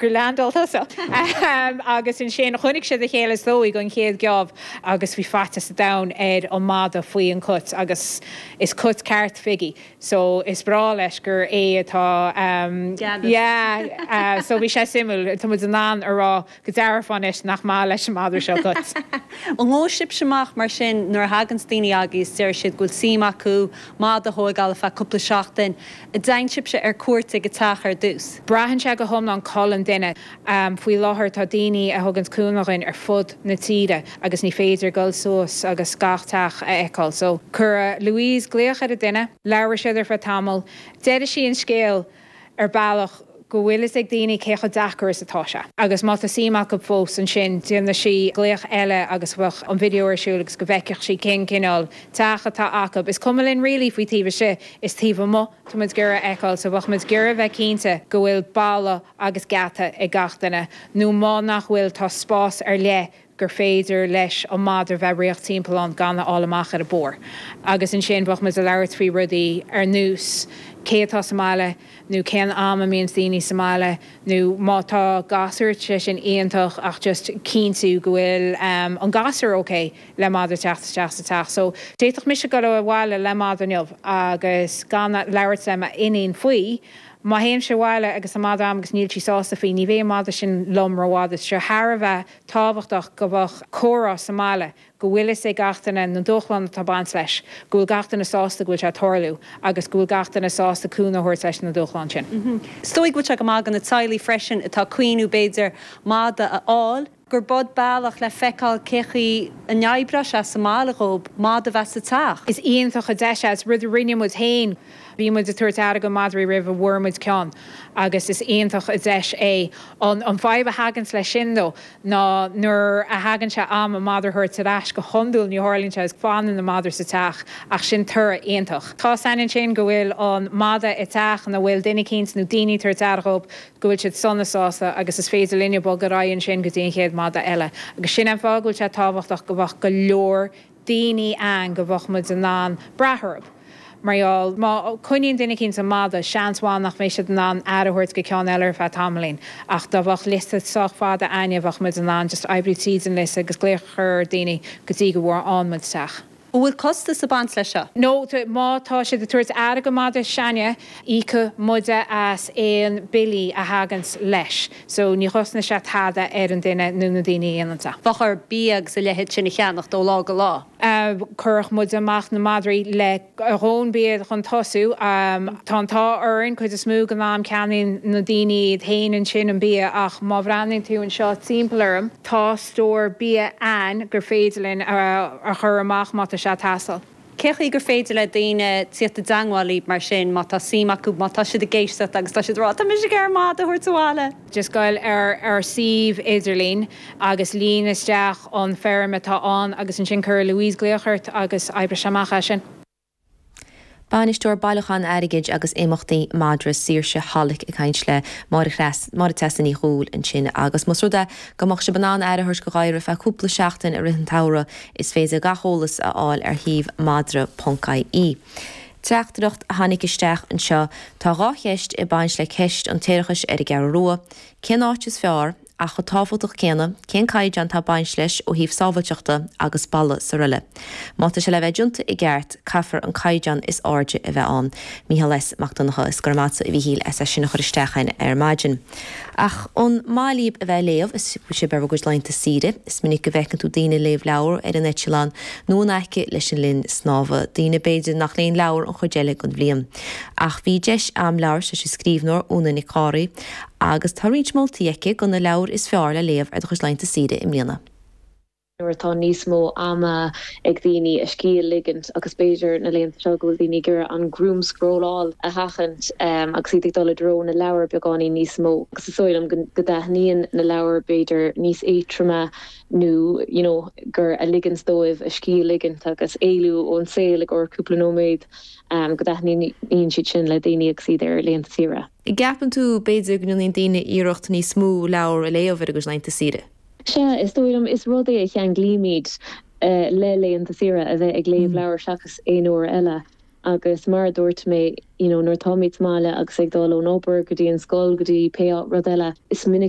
Gur leaindeáil tusa. Agus ansin chonaic siad a chéile is dóigh don chéad gheábh agus bhí faitíos an domhain ar an mada faoi an cut agus is cut ceart Figgy so is breá leis gur é atá yeah so bhí sé suimiúil. Tá muid in ann a rá go dearfa anois nach maith leis an madra seo cait. An ngabhfaidh sibhse amach mar sin nuair a thaganns daoine agaibh is deir siad go bhfuil suim acu mada a thóigeáil ar feadh cúpla seachtain, an dtéann sibhse ar cuairt ag an teach ar dtús? Braitheann sé go hiomlán col an duine. Faoi láthair tá daoine a thuganns cúnamh dhuinn ar fud na tíre agus ní féidir dul suas agus gach teach a fheiceáil. So cuirfidh Louise glaoch ar an duine, labhróidh siad ar feadh tamaill, déarfaidh sí an scéal ar bealach go bhfuil fhios ag daoine cé chomh deacair is atá sé. Agus má tá suim acu fós ansin déanfaidh sí glaoch eile agus bheadh an video ar siúl agus go bhfeicfeadh sí cén cineál teach atá acu. Is cuma linn really faoi taobh istigh, is taobh amuigh tá muid ag iarraidh a fheiceáil so bheadh muid ag iarraidh a bheith cinnte go bhfuil balla agus geata ag gach duine nó má nach bhfuil tá spás ar leith gur féidir leis an madra bheith ag rith timpeall ann gan a fháil amach ar an bpór. Agus ansin bheadh muid ag labhairt faoi rudaí ar nós cé atá sa mbaile nó cén am a mbíonns daoine sa mbaile nó má tá gasúr, tá sé sin iontach ach just cinntiú go bhfuil an gasúr ok le madra teacht isteach sa teach. So d'fhéadfadh mise dul abhaile le madra inniu agus gan labhairt le m'iníon faoi. Má théimse abhaile agus an madra a'm agus níl sí sásta faoi, ní bheidh an madra sin liom rófhada. Tá sé thar a bheith tábhachtach go mbeadh comhrá sa mbaile, go bhfuil fhios ag gach duine na dúshláin atá ag baint leis, go bhfuil gach duine sásta go bhfuil sé ag tarlú agus go bhfuil gach duine sásta cúnamh a thabhairt leis na dúshláin sin. Is dóigh go bhfuil sé go maith do na teaghlaigh freisin atá ag cuimhniú b'fhéidir mada a fháil, gur b'shin bealach le feiceáil cé chaoi a n-oibreoidh sé sa mbaile dhóib mada a bheith sa teach. Is iontach an deis é, is rud a rinne muid féin. Bhí muid ag tabhairt aire go madraí roimh a bhfuair muid ceann agus is iontach an deis é. An fadhb a thaganns leis sin though ná nuair a thagann sé am an madra a thabhairt ar ais, go hiondúil ní tharlaíonn sé agus fanann an madra sa teach ach sin toradh iontach. Tá 's againn ansin go bhfuil an mada i dteach ina bhfuil duine eicínt nó daoine ag tabhairt aire dhóibh, go bhfuil siad sona sásta agus is féidir linne bogadh ar aghaidh ansin go dtí an chéad mada eile. Agus sin an fáth go bhfuil sé tábhachtach go bheadh go leor daoine ann go bheadh muid in ann brath orthu. Mar gheall, má coinníonn duine eicínt an mada, seans mhaith nach mbeidh siad in ann aire a thabhairt go ceann eile ar feadh tamaillín. Ach dá bheadh liosta sách fada a'inne bheadh muid in ann just oibriú tríd an liosta agus glaoch a chur ar daoine go dtí go bhfaigheann muid teach. An bhfuil costas ag baint leis seo? No, má tá siad ag tabhairt aire go madra s'a'inne, íocfaidh muide as aon billí a thaganns leis. So ní chosnaíonn sé tada ar an duine nó na daoine a dhéananns é. Bheadh orthu bia agus a leithéid sin a cheannacht ó lá go lá. Cuirfidh muid amach na madraí le a dhóthain bia chun tosú. Tá an t-ádh orainn, cuid is mó den am ceannaíonn na daoine iad féin ansin an bia ach má bhreathnaíonn tú anseo timpeall orm, tá stór bia a'ainn gur féidir linn a chur amach má tá sé ag teastáil. Cé chaoi gur féidir le daoine tíocht i dteangmháil libh mar sin má tá suim acu, má tá siad ag éisteacht agus tá siad ag rá 'tá mise ag iarraidh mada a thabhairt abhaile'? Just goil ar ár suíomh idirlín agus líon isteach an foirm atá ann agus ansin cuirfidh Louise glaoch ort agus oibreoidh sé amach as sin. Bainisteoir Bailiúchán Airgid agus Imeachtaí Madra Saoirse Hollick ag caint le Máire Máire Treasa Ní Dhubhghaill ansin agus más rud é go mbeadh sibh in ann aire a thabhairt go ghadhar ar feadh cúpla seachtain i rith an tsamhraidh is féidir gach eolas a fháil ar shuíomh madra.ie. Teachtaireacht a tháinig isteach anseo, Tá 2 cheist ag baint le ceist an tséarachais ar an gCeathrú Rua. Cén áit is fearr? Ach chomh tábhachtach céanna, cén caighdeán atá ag baint leis ó thaobh sábháilteachta agus balla 's aroile? Má tá sé le bheith déanta i gceart, caithfear an caighdeán is airde a bheith ann. Mícheál S. Mac Donncha, Is go raibh maith agatsa a Mhíchíl as é sin a chur isteach a'inn ar maidin. Ach an maith libh a bheith ag léamh is sibh ar bhur gcuid laethanta saoire? Is minic go bhfeiceann tú daoine ag léamh leabhar ar an eitleán nó in aice leis an linn snámha, daoine b'fhéidir nach léann leabhar an chuid eile den bhliain. Ach bhí deis a'm labhairt leis an scríbhneoir Úna Nic Gháraí agus tá roinnt moltaí aici do na leabhair is fearr le léamh ar do chuid laethanta saoire i mbliana. nuair atá níos mó ama ag daoine a scíth a ligint agus b'fhéidir na laethanta seo go bhfuil daoine ag iarraidh an gruaimscrolláil a sheachaint agus iad ag dul i dtreo na leabhar beagáinín níos mó agus is dóigh liom go dtaitníonn na leabhair b'fhéidir níos éadtroime nó you know gur a ligeanns dóibh a scíth a ligint agus éalú ón saol i gcomhair cúpla nóiméad go dtaitníonn siad sin le daoine agus iad ar laethanta saoire. An gceapann tú, b'fhéidir, go ndéanann daoine iarracht níos mó leabhar a léamh ar a gcuid laethanta saoire? Sea, is dóigh liom, is rud é a cheanglaímid le laethanta saoire, a bheith ag léamh leabhar seachas aon uair eile. Agus mar a dúirt mé, you know, nuair atáimid sa mbaile agus ag dul ón obair go dtí an scoil go dtí pé rud eile, is minic.